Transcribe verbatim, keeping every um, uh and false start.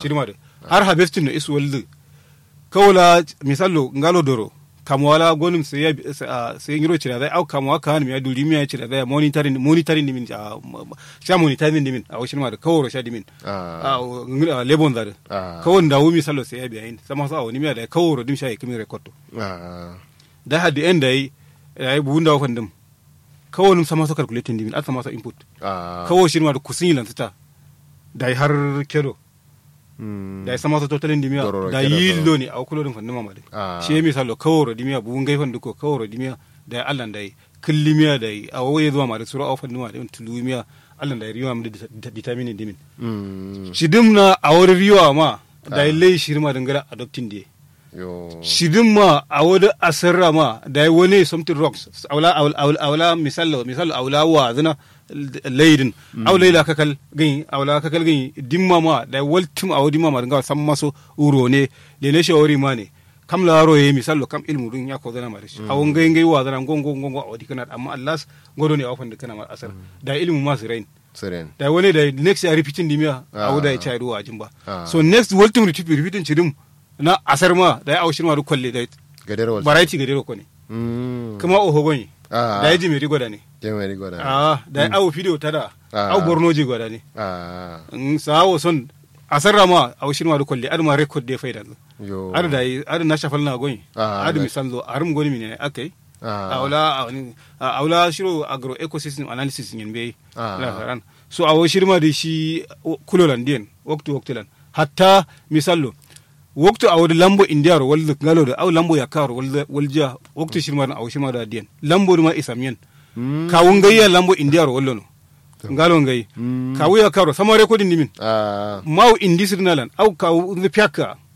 Shirma dǝ har harvesting no isu walzǝ. Kawo la misallo ngalo doro kamuwa la gonǝm sai ya sai nyiro cira zai au kamuwa kahanǝm ya duri miya cira zai monitoring monitoring dimin. Sha monitoring dimin awo shirma dǝ kaworo sha dimin. Awo lebon za dǝ kawo ndawu misallo sai ya biya yin sama so awo nimiya dai kaworo dim sha ye kǝmin record to. Dai haddi en dai dai buwu ndawu fandǝm. Kawo nǝm sama so calculating dimin adǝ sama so input. Kawo shirma dǝ kusun yi lansǝta. Dai har kedo. Dayi sama so totalin dimiya dayi yillo ne awo kulo dǝn fanduma ma dǝ. Shi ye misallo kaworo dimiya buwu ngai fanduko kaworo dimiya. Dayi allan dayi kǝllimiya dayi awo ye zuma ma dǝ suro awo fanduma dǝ tulumiya. Allan dayi riwa ma dǝ determinin dimin. Shidǝm na awo dǝ riwa ma dayi lai shirma dǝ ngala adoptin diye. Shidǝm ma awo dǝ asarra ma dayi wane something wrong. Awo la misallo misallo awo la wazǝna. Laidin awo laila kakal gǝnyi awo la kakal gǝnyi dimma ma dayi waltǝm awo dimma ma dǝ ngawo samma so. Wuro ne lene shawari ma ne. Kam la roye misallo kam ilmu dun ya kozana ma dǝ shi awo ngai ngai wazana ngo ngo ngo ngo awo dikana amma allas. Ngo done awo fandǝ kana ma asar. Dayi ilmu ma sirain. Dayi wane dayi next ya repeating dimiya awo dayi chai dǝ wajin ba. So next waltǝm repeating chidǝm. Na asar ma dayi awo shirma dǝ kolle dayi variety gadero kone. Kǝma oho gonyi. Dayi jimeri godane. Jimeri godane. Dayi awo fidiyo tada. Awo bornoji godane. Sa'a wo son asarra ma awo shirma dǝ kolle adǝ ma record de faidanzǝ. Adǝ dayi adǝ na shafal na gonyi. Adǝ misallo arǝm goni mine akai. Awo la shiro agro ecosystem analysis nyen beyi. Lasaran so awo shirma dǝ shi kulolan diyen. Waktu waktulan hatta misallo. Waktu awo dǝ lambo indiyaro walzǝ ngalo dǝ au lambo yakkaro waljiya waktu shirma dǝ awo shirma dǝ addiyen lambo dǝ ma isam yen. Kawu ngai ya lambo indiyaro wallono. Ngalo ngai kawu yakkaro samare kodin dimin. Mawu indi sǝdǝna lan au kawu nzǝ fiyakka.